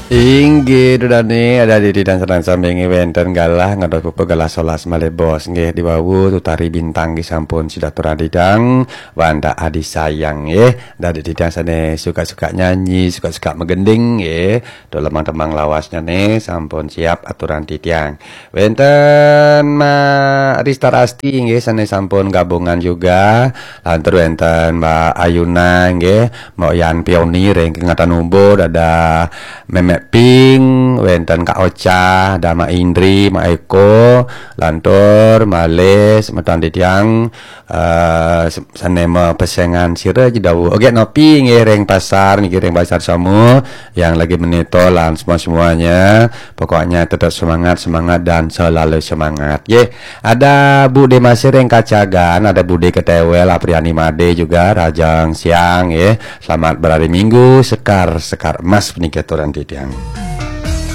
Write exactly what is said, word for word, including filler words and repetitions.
Inggih, Dudane, ada di didang sadang sami nggih wenten galah ngantos puput galah solas malih bos nggih di wau tutari bintang nggih sampun sida aturang didang wanda adi sayang nggih. Ada di didang sane suka-suka nyanyi, suka-suka megending nggih. Tuh lemang-temang lawasnya nih sampun siap aturang titiang. Wenten Ma Rista Rasti nggih sane sampun gabungan juga. Lantur wenten Mbak Ayuna nggih, Mbok Yan Pioni ring kengatan ubo, ada Memek Ping, wenten Kak Ocha, ada Mak Indri, Mak Eko, lantur malih semeton titiang eh, se- sane mapesengan sira jeda. Oke, nopi nggih ring pasar niki, ring pasar Somo yang lagi menito lan semua-semuanya. Pokoknya tetap semangat, semangat dan selalu semangat. Nggih, ada Bude Masih ring Kacagan, ada Bude Ketewel, Apriani Made juga, Rajang Siang nggih. Selamat berhari Minggu, Sekar, Sekar Emas puniki aturang titiang.